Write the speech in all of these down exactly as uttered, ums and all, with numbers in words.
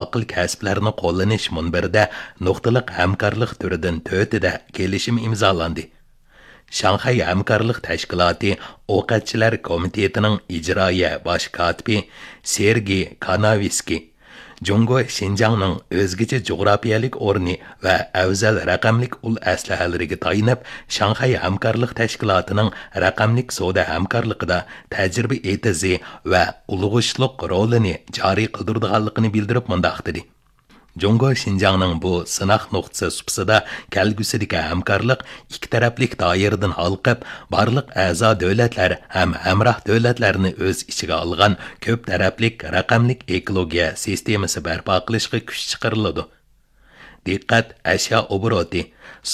ئاقىل كەسىپلەرنى قوللىنىش مۇنبىرىدە نۇقتىلىق ھەمكارلىق تۈرىدىن تۆتىدە كېلىشىم ئىمزالاندى. شاڭخەي ھەمكارلىق تەشكىلاتى ئوقەتچىلەر كومىتېتىنىڭ ئىجرائىيە باش كاتىپى سېرگېي كاناۋىسكىي، جۇڭگو شىنجاڭنىڭ ئۆزگىچە جۇغراپىيەلىك ئورنى ۋە ئەۋزەل رەقەملىك ئۇل ئەسلىھەلىرىگە تايىنىپ، شاڭخەي ھەمكارلىق تەشكىلاتىنىڭ رەقەملىك سودا ھەمكارلىقىدا تەجرىبە ئېتىزى ۋە ئۇلىغىشلىق رولىنى جارى قىلدۇرىدىغانلىقىنى بىلدۈرۈپ مۇنداق دېدى: جۇڭگو شىنجاڭنىڭ بۇ سىناق نۇقتىسى سۇپىسىدا كەلگۈسىدىكى ھەمكارلىق ئىككى تەرەپلىك دائىرىدىن ھالقىپ، بارلىق ئەزا دۆلەتلەر ھەم ھەمراھ دۆلەتلەرنى ئۆز ئىچىگە ئالغان كۆپ تەرەپلىك رەقەملىك ئېكولوگىيە سىستېمىسى بەرپا قىلىشقا كۈچ چىقىرىلىدۇ. دىققەت ئەشيا ئوبوروتى،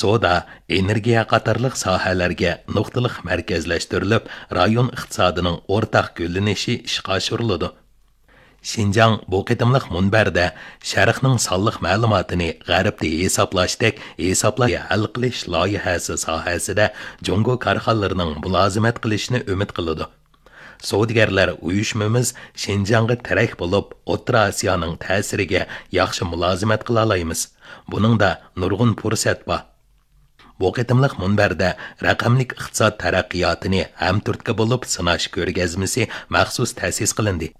سودا، ئېنېرگىيە قاتارلىق ساھەلەرگە نۇقتىلىق مەركەزلەشتۈرۈلۈپ، رايون ئىقتىسادىنىڭ ئورتاق گۈللىنىشى ئىشقا ئاشۇرۇلىدۇ. شىنجاڭ بۇ قېتىملىق مۇنبەردە شەرقنىڭ سانلىق مەلۇماتىنى غەربتە ھېسابلاشتەك ھېسابلاش ھەل قىلىش لايىھەسى ساھەسىدە جۇڭگو كارخانىلىرىنىڭ مۇلازىمەت قىلىشىنى ئۈمىد قىلىدۇ. سودىگەرلەر ئۇيۇشمىمىز شىنجاڭغا تىرەك بولۇپ، ئوتتۇرا ئاسىيانىڭ تەسىرىگە ياخشى مۇلازىمەت قىلالايمىز. بۇنىڭدا نۇرغۇن پۇرسەت بار. بۇ قېتىملىق مۇنبەردە رەقەملىك ئىقتىساد تەرەققىياتىنى ھەمتۈرتكە بولۇپ سىناش كۆرگەزمىسى مەخسۇس تەسىس قىلىندى.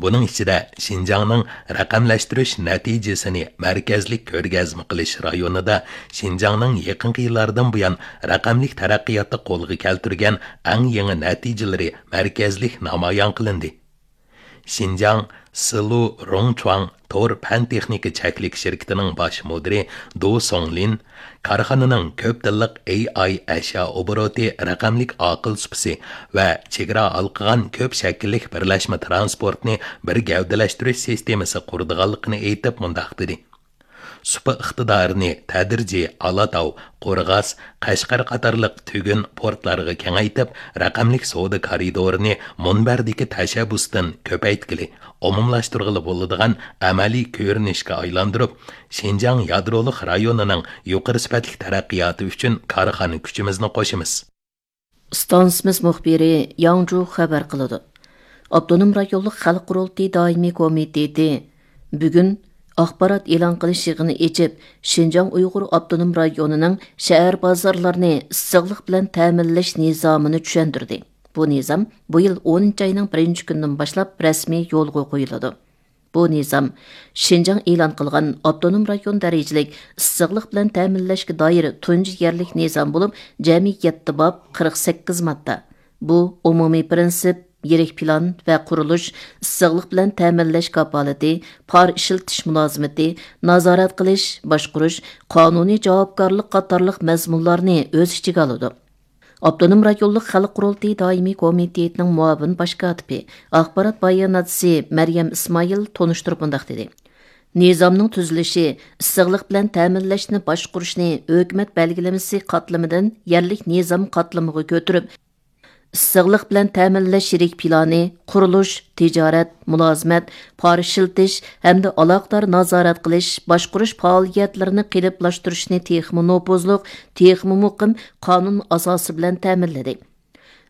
بۇنىڭ ئىچىدە شىنجاڭنىڭ رەقەملەشتۈرۈش نەتىجىسىنى مەركەزلىك كۆرگەزمە قىلىش رايونىدا شىنجاڭنىڭ يېقىنقى يىللاردىن بۇيان رەقەملىك تەرەققىياتتا قولغا كەلتۈرگەن ئەڭ يېڭى نەتىجىلىرى مەركەزلىك نامايان قىلىندى. شىنجاڭ سىلۇ روڭچۇاڭ تور پەن تېخنىكا چەكلىك شىركىتىنىڭ باش مۇدىرى دۇ سوڭلىن كارخانىنىڭ كۆپ تىللىق ئېي ئاي ئەشيا ئوبوروتى رەقەملىك ئاقىل سۇپىسى ۋە چېگرا ھالقىغان كۆپ شەكىللىك بىرلەشمە تىرانسپورتنى بىر گەۋدىلەشتۈرۈش سىستېمىسى قۇرىدىغانلىقىنى ئېيتىپ مۇنداق دېدى: سۇپا ئىقتىدارىنى تەدرىجىي ئالاتاۋ، قورغاس، قەشقەر قاتارلىق تۈگۈن پورتلارغا كېڭەيتىپ، رەقەملىك سودا كارىدورىنى مۇنبەردىكى تەشەببۇستىن كۆپەيتكىلى، ئومۇملاشتۇرغىلى بولىدىغان ئەمەلىي كۆرۈنۈشكە ئايلاندۇرۇپ، شىنجاڭ يادرولۇق رايونىنىڭ يۇقىرى سۈپەتلىك تەرەققىياتى ئۈچۈن كارخانا كۈچىمىزنى قوشىمىز. ئىستانسىمىز مۇخبىرى ياڭجۇ خەۋەر قىلىدۇ. ئاپتونوم رايونلۇق خەلق قۇرۇلتىيى دائىمىي كومىتېتى بۈگۈن ئاخبارات ئېلان قىلىش يىغىنى ئېچىپ، شىنجاڭ ئۇيغۇر ئاپتونوم رايونىنىڭ شەھەر بازارلىرىنى ئىسسىقلىق بىلەن تەمىنلەش نىزامىنى چۈشەندۈردى. بۇ نىزام بۇ يىل ئونىنچى ئاينىڭ بىرىنچى كۈنىدىن باشلاپ رەسمىي يولغا قويۇلىدۇ. بۇ نىزام شىنجاڭ ئېلان قىلغان ئاپتونوم رايون دەرىجىلىك ئىسسىقلىق بىلەن تەمىنلەشكە دائىر تۇنجى يەرلىك نىزام بولۇپ، جەمئىي يەتتە باب، قىرىق سەككىز ماددا. بۇ ئومۇمىي پىرىنسىپ، يىرىك پىلان ۋە قۇرۇلۇش، ئىسسىقلىق بىلەن تەمىنلەش كاپالىتى، پار ئىشلىتىش مۇلازىمىتى، نازارەت قىلىش، باشقۇرۇش، قانۇنىي جاۋابكارلىق قاتارلىق مەزمۇنلارنى ئۆز ئىچىگە ئالىدۇ. ئاپتونوم رايونلۇق خەلق قۇرۇلتىيى دائىمىي كومىتېتىنىڭ مۇئاۋىن باش كاتىپى، ئاخبارات باياناتچىسى مەريەم ئىسمائىل تونۇشتۇرۇپ مۇنداق دېدى: نىزامنىڭ تۈزۈلۈشى ئىسسىقلىق بىلەن تەمىنلەشنى باشقۇرۇشنى ھۆكۈمەت بەلگىلىمىسى قاتلىمىدىن يەرلىك نىزام قاتلىمىغا كۆتۈرۈپ، ئىسسىقلىق بىلەن تەمىنلەش يىرىك پىلانى، قۇرۇلۇش، تىجارەت، مۇلازىمەت، پار ئىشلىتىش ھەمدە ئالاقىدار نازارەت قىلىش، باشقۇرۇش پائالىيەتلىرىنى قېلىپلاشتۇرۇشنى تېخىمۇ نوپۇزلۇق، تېخىمۇ مۇقىم قانۇن ئاساسى بىلەن تەمىنلىدى.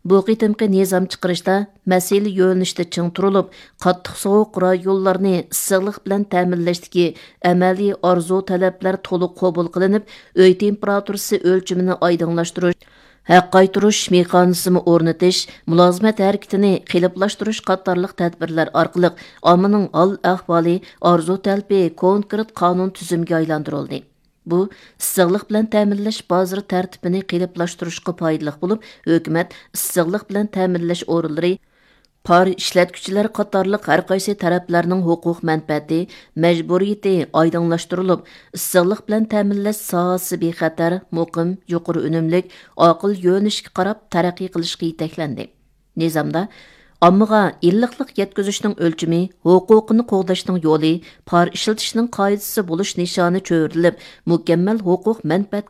بۇ قېتىمقى نىزام چىقىرىشتا مەسىلە يۆنىلىشىدە چىڭ تۇرۇلۇپ، قاتتىق سوغۇق رايونلارنى ئىسسىقلىق بىلەن تەمىنلەشتىكى ئەمەلىي ئارزۇ تەلەپلەر تولۇق قوبۇل قىلىنىپ، ئۆي تېمپېراتۇرىسى ئۆلچىمىنى ئايدىڭلاشتۇرۇش، ھەق قايتۇرۇش مېخانىزمى ئورنىتىش، مۇلازىمەت ھەرىكىتىنى قېلىپلاشتۇرۇش قاتارلىق تەدبىرلەر ئارقىلىق ئاممىنىڭ ھال ئەھۋالى، ئارزۇ تەلىپى كونكرېت قانۇن تۈزۈمىگە ئايلاندۇرۇلدى. بۇ ئىسسىقلىق بىلەن تەمىنلەش بازىرى تەرتىپىنى قېلىپلاشتۇرۇشقا پايدىلىق بولۇپ، ھۆكۈمەت ئىسسىقلىق بىلەن تەمىنلەش ئورۇنلىرى، پار ئىشلەتكۈچىلەر قاتارلىق ھەر قايسى تەرەپلەرنىڭ ھوقۇق مەنپەئەتى، مەجبۇرىيىتى ئايدىڭلاشتۇرۇلۇپ، ئىسسىقلىق بىلەن تەمىنلەش ساھەسى بىخەتەر، مۇقىم، يۇقىرى ئۈنۈملۈك، ئاقىل يۆنىلىشكە قاراپ تەرەققىي قىلىشقا يېتەكلەندى. نىزامدا ئاممىغا ئىللىقلىق يەتكۈزۈشنىڭ ئۆلچىمى، ھوقۇقىنى قوغداشنىڭ يولى، پار ئىشلىتىشنىڭ قائىدىسى بولۇش نىشانى چۆرىدىلىپ، مۇكەممەل ھوقۇق مەنپەئەت